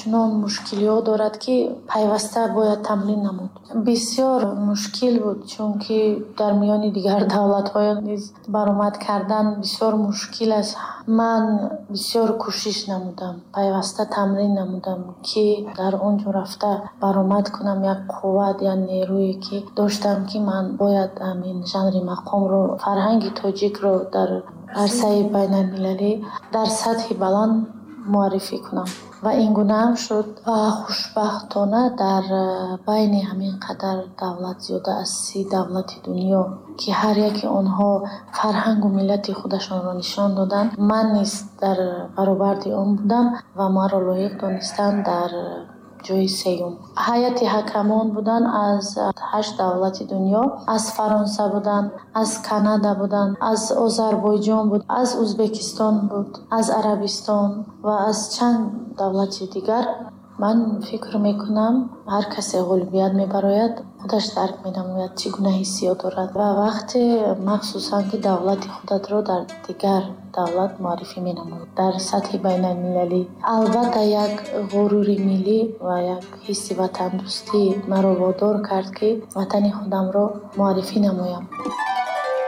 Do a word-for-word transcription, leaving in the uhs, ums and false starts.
Чунон мушкилиҳо дорад, ки пайваста бояд тамрин намуд. Бисёр мушкил буд, чунки дар миёни дигар давлатҳо низ баромад кардан бисёр мушкил аст. Ман бисёр кӯшиш намудам, пайваста тамрин намудам, ки дар он ҷо рафта баромад кунам. Як қувват, як нерӯе ки доштам, ки ман бояд ҳамин жанри мақомро, фарҳанги тоҷикро дар арсаи байналмилалӣ дар сатҳи баланд муаррифӣ кунам. Ва ин гунаам шуд. Ва хушбахтона дар байни ҳамин қадар давлат, зиёда аз си давлати дунё, ки ҳар яке онҳо фарҳангу миллати худашонро нишон доданд, ман низ дар баробарди он будам ва маро лоиқ донистанд дар ҷои сеюм. Ҳайати ҳакамон буданд аз ҳашт давлати дунё: аз Фаронса буданд, аз Канада буданд, аз Озарбойҷон буд, аз Узбекистон буд, аз Арабистон ва аз чанд давлати дигар. Ман фикр мекунам, ҳар касе ғолибият мебарояд, худаш дарк менамояд, чӣ гуна ҳиссиёт дорад. Ва вақте махсусан ки давлати худатро дар дигар давлат муаррифӣ менамояд дар сатҳи байналмилалӣ, албатта, як ғурури миллӣ ва як ҳисси ватандӯстӣ маро водор кард, ки ватани худамро муаррифӣ намоям.